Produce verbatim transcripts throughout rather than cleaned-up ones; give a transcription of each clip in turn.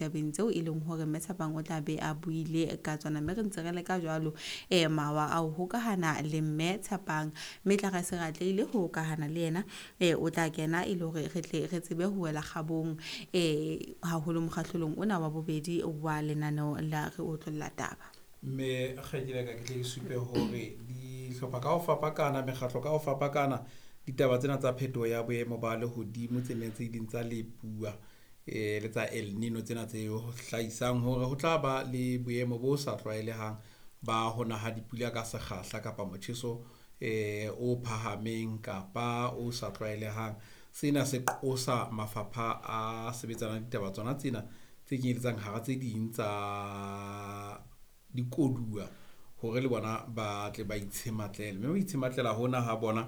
Tabeng tseo e leng hore Mme Tshepang o tla be a buile ka tsona, mme re ntse re leka jwalo eh mawa a ho hokahana le Mme Tshepang, mme tla re se re atlehile ho hokahana le yena, eh o tla kena e le hore re tle re tsebe ho wela kgabong eh haholo mokgahlelong ona wa bobedi wa lenaneo la Re Otlolla Taba. Mme kgaitsedi ka ke tle ke supe hore dihlopha ka ho fapakana, mekgatlo ka ho fapakana, ditaba tsena tsa phetoho ya boemo ba lehodimo tse neng tse ileng tsa lepuwa eh le tsa El Nino tsena tse hlahisang hore ho tla ba le boemo bo sa tlwaelehang ba ho na ha dipula ka sekgahla kapa motjheso eh o phahameng kapa o sa tlwaelehang. Sena se qosa mafapha a sebetsanang le ditaba tsona tsena tse kenyeletsang hara tse ding tsa dikoduwa hore le bona ba tle ba itshematlele, mme ho itshematlela hona ha bona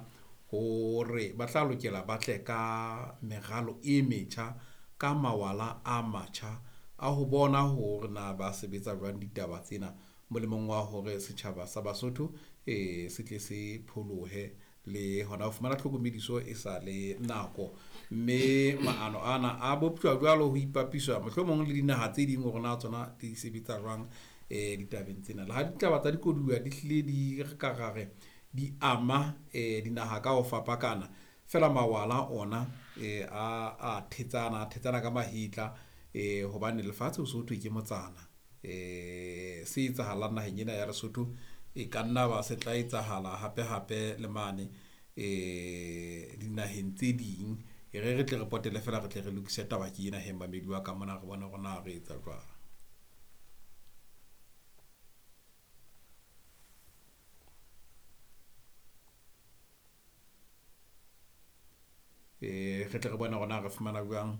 hore ba tla lokela ba tle ka meralo e metjha, ka mawala a matjha a ho bona hore na ba sebetsa jwang ditaba tsena molemong wa hore setjhaba sa Basotho eh se tle se pholohe le hona ho fumana tlhokomediso e sa le nako. Mme maano ana a boptjwa jwalo ho ipapiswa mohlomong le dinaha tse ding hore na tsona di sebetsa jwang eh ditabeng tsena. Le ha ditaba tsa dikoduwa di hlile di re ka ra re di ama eh dinaha ka ho fapakana, fela mawala ona eh a a thetsana, a thetsana ka mahetla eh hobane lefatshe ho so thwe ke motsana. Eh se etsahalang naheng ena ya Lesotho e ka nna ba se tla etsahala hape hape le mane eh dinaheng tse ding. E re re tle re potele fela re tle re lokise taba ke ena he mamedi wa ka mona re bone hore na re etsa jwang. Eh re tle re bone hore na re fumana jwang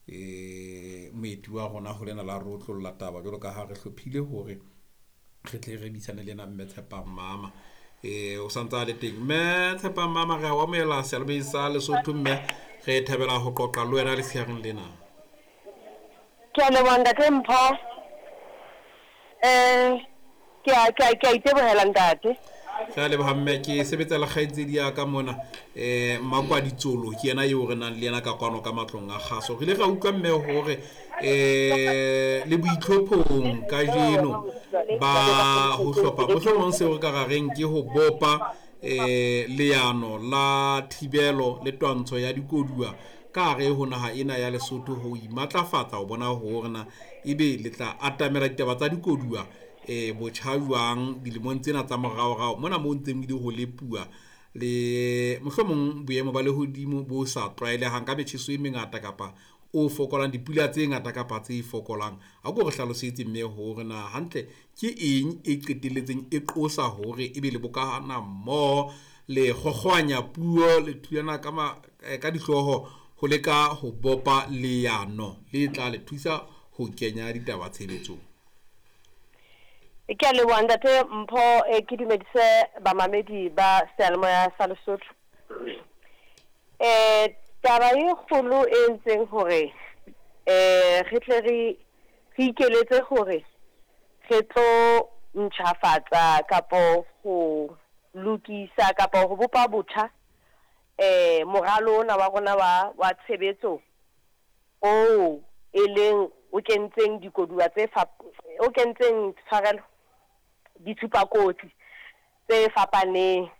eh moeti wa rona ho lena la re otlolla taba jwalo ka ha re hlophile hore re tle re buisane le yena Mme Tshepang Mama. Eh o santsa le teng Mme Tshepang Mama, re a o amohela seyalemoyeng sa Lesotho, mme re thabela ho qoqa le wena letshehareng lena. Ke a leboha ntate Mpho. Eh ke a ke a ke a itebohela ntate. Re a leboha mme, ke sebetsa le kgaitsedi ya ka mona eh Mmakwaditsolo, ke yena eo re nang le yena ka kwano ka matlong a kgaso. Re ile ra utlwa mme hore eh le boitlhophong kajeno ba ho hlopha mohlomong seo re ka ra reng ke ho bopa eh leano la thibelo le twantsho ya dikoduwa ka hare ho naha ena ya Lesotho, ho imatlafatsa ho bona hore na ebe le tla atamela ditaba tsa dikoduwa eh botjha jwang dilemong tsena tsa moraorao mona moo ntseng di ho lepuwa le mohlomong boemo ba lehodimo bo sa tlwaelehang ka metjheso e mengata kapa o fokolang, dipula tse ngata kapa tse fokolang. A ko re hlalosetse mme hore na hantle ke eng e qetelletseng e qosa hore ebe le bokahana mmoho le kgokgoanya puo le thulana ka ma, ka dihlooho ho leka ho bopa leano le tla le thusa ho kenya ditaba tshebetsong. Ke a leboha ntate Mpho, eh, ke dumedise bamamedi ba seyalemoya sa Lesotho. Eh taba e kgolo e entseng hore eh re tle re re ikeletse hore re tlo ntjhafatsa kapo ho lokisa kapo ho bopa botjha eh moralo ona wa rona wa wa tshebetso o e leng o kentseng dikoduwa tse fa o kentseng tshwarelo ditshupakotsi tse fapaneng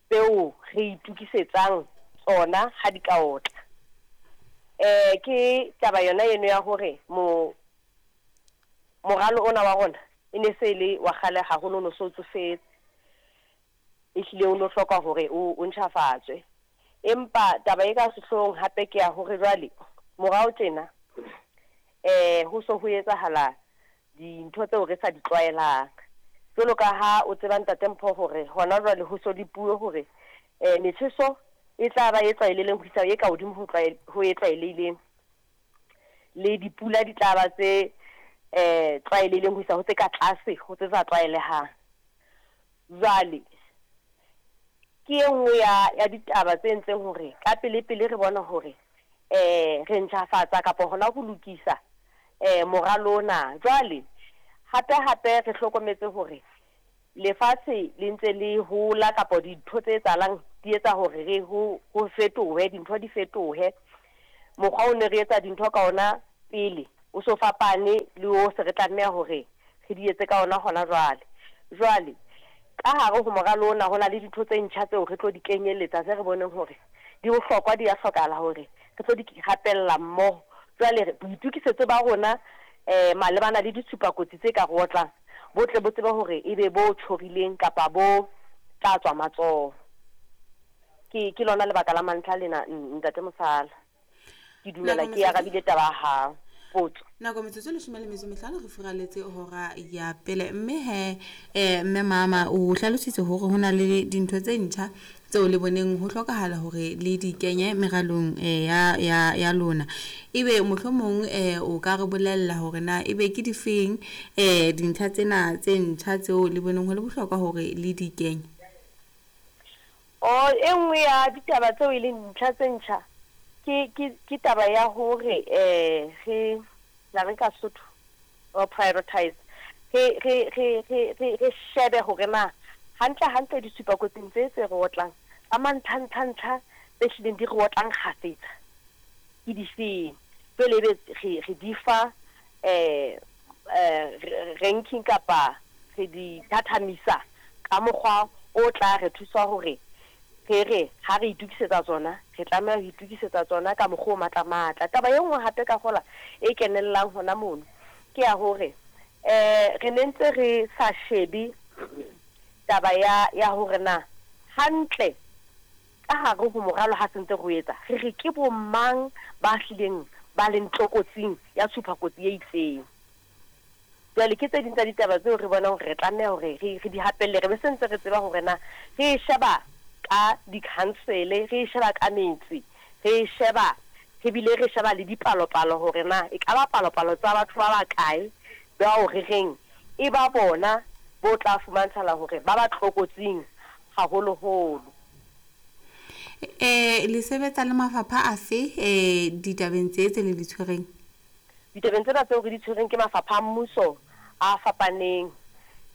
tseo re itukisetsang tsona ha di ka otla. Eh ke taba yona eno ya hore mo moralo ona wa rona e ne se le wa kgale haholo, no so tsofetse, ehlile o no hloka hore o o ntjhafatswe. Empa taba e ka sehloohong hape ke ya hore jwale morao tjena eh ho so ho etsahala dintho tseo re sa di tlwaelang. Jwalo ka ha o tseba ntate Mpho hore hona jwale ho so le puo hore eh metjheso e tla ba e tlwaelehileng ho isa e ka hodimo ho tlwael ho e tlwaelehileng, le dipula di tla ba tse eh tlwaelehileng ho isa ho tse ka tlase ho tse sa tlwaelehang. Jwale ke e nngwe ya ya ditaba tse entseng hore ka pele pele re bona hore eh re ntjhafatsa kapa hona ho lokisa eh moralo ona. Jwale hape hape re hlokometse hore lefatshe le ntse le hola kapa dintho tse etsahalang di etsa hore re ho ho fetohe, dintho di fetohe. Mokgwa o ne re etsa dintho ka ona pele o so fapane le o se re tlameha hore re di etse ka ona hona jwale. Jwale ka hare ho moralo ona ho na le dintho tse ntjha tseo re tlo di kenyeletsa tse re boneng hore di bohlokwa, di a hlokahala hore re tlo di rapella mmoho. Jwale boitokisetso ba rona eh malebana le ditshupakotsi tse ka re otlang bo tle bo tsebe hore ebe bo tjhorileng kapa bo tla tswa matsoho. Ke ke lona lebaka la mantlha lena, ntate Mosala. Ke dumela ke arabile taba ya hao. Potso. Nako metsotso leshome le metso e mehlano re furaletse hora ya pele, mme he eh mme mama o hlalositse hore hona le dintho tse ntjha tseo le boneng ho hlokahala hore le di kenye meralong ya ya ya lona. Ebe mohlomong eh o ka re bolella hore na ebe ke difeng eh dintlha tsena tse ntjha tseo le boneng ho le bohlokwa hore le di kenye? O e nngwe ya ditaba tseo e leng ntlha tse ntjha ke ke ke taba ya hore eh re la re ka Sotho or prioritize, re re re re re shebe hore na hantle hantle ditshupakotsing tse tse re otlang tsa mantlha ntlha ntlha tse hlileng di re otlang kgafetsa ke difeng. Jwale ebe re re di fa eh ranking kapa re di thathamisa ka mokgwa o tla re thusa hore re re ha re itokisetsa tsona re tlameha ho itokisetsa tsona ka mokgwa o matla matla. Taba e nngwe hape ka kgola e kenellang hona mono ke ya hore eh re ne ntse re sa shebe taba ya ya hore na hantle ka hare ho moralo ha sentse re etsa re re ke bo mang ba hlileng ba leng tlokotsing ya tshupakotsi e itseng. Jwale ke tse ding tsa ditaba tseo re bonang hore re tlameha hore re re di hapelle, re be sentse re tseba hore na re sheba ka di-council, re sheba ka metsi, re sheba re bile re sheba le dipalopalo hore na e ka ba palopalo tsa batho ba bakae bao re reng e ba bona bo tla fumantshala hore ba ba tlokotsing haholoholo. Eh le sebetsa le mafapha afe eh ditabeng tse tse le di tshwereng? Ditabeng tsena tseo re di tshwereng ke mafapha a mmuso a fapaneng.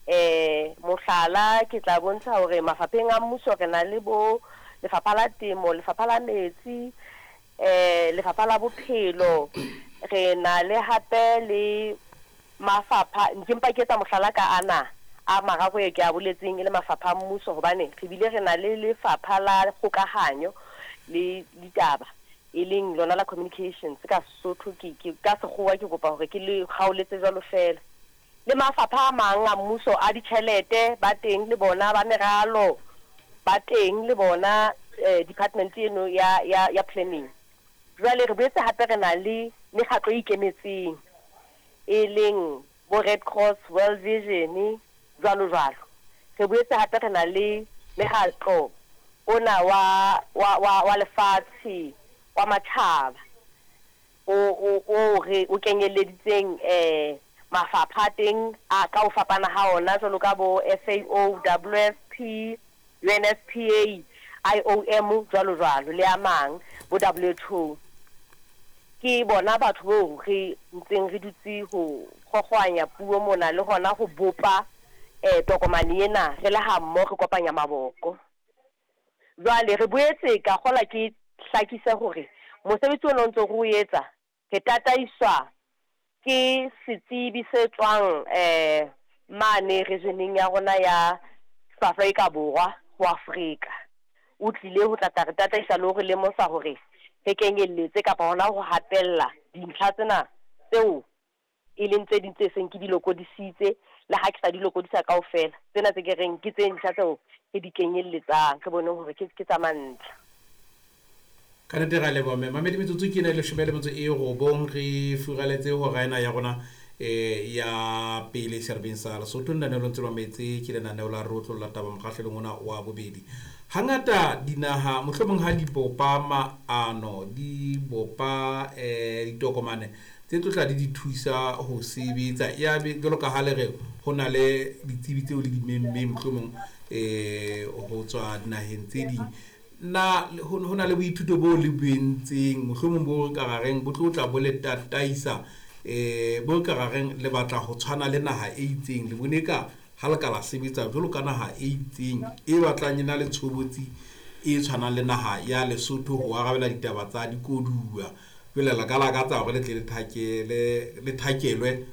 Eh mohlala ke tla bontsha hore mafapheng a mmuso re na le bo lefapha la temo, lefapha la metsi, eh lefapha la bophelo, re na le hape le mafapha ke mpa ke etsa mohlala ka ana a mararo e ke a boletseng e le mafapha a mmuso, hobane re bile re na le lefapha la kgokahanyo le ditaba e leng lona la communications ka Sesotho ke ke ka Sekgowa ke kopa hore ke le kgaoletse jwalo fela. Le mafapha a mang a mmuso a ditjhelete ba teng le bona, ba meralo ba teng le bona, eh, department eno ya ya ya planning. Jwale re boetse hape re na le mekgatlo e ikemetseng e leng bo Red Cross, World Vision jwalo jwalo. Re boetse hape re na le mekgatlo ona wa wa wa, wa lefatshe wa matjhaba o o o re o kenyeleditseng eh mafapha teng a ka ho fapana ha ona jwalo ka bo F A O, W F P, U N F P A, I O M jwalo jwalo le a mang bo W H O. Ke bona batho bo re ntseng re dutse ho kgokgoanya puo mona le hona ho bopa eh tokomane ena re le ha mmoho re kopanya maboko. Jwale re boetse ka kgola ke hlakise hore mosebetsi ona o ntse re o etsa re tataiswa ke setsebi se tswang eh mane regioneng ya rona ya Afrika Borwa ho Afrika. O tlile ho tla re tataisa le hore lemosa hore re kenyelletse kapa hona ho hapella dintlha tsena tseo e leng tse ding tse seng ke di lokodisitse le ha ke sa di lokodisa kaofela. Tsena tse ke reng ke tse ntjha tseo re di kenyelletsang re bone hore ke ke tsa mantlha. Ka nnete ra leboha mme mamedi metsotso ke ena e leshome le metso e robong re furaletse hora ena ya rona eh ya pele serbeng sa Lesotho. Lenaneo le ntse le mametse ke lenaneo la Rotlo la Taba mokgahlelong ona wa bobedi. Hangata dinaha mohlomong ha di bopa maano, di bopa eh ditokomane tse tlo tla di di thusa ho sebetsa, ya be jwalo ka ha le re ho na le ditsebi tseo le di memmeng mohlomong eh ho tswa dinaheng tse ding. Na ho na le boithuto bo le boentseng mohlomong bo re ka reng bo tlo tla bo le tataisa eh bo ka reng le batla ho tshwana le naha e itseng, le bone ka ha le ka la sebetsa jwalo ka naha e itseng e batlang e na le tshobotsi e tshwanang le naha ya Lesotho ho arabela ditaba tsa dikoduwa Jwale la ka lakatsa hore le tle le thakele, le thakelwe.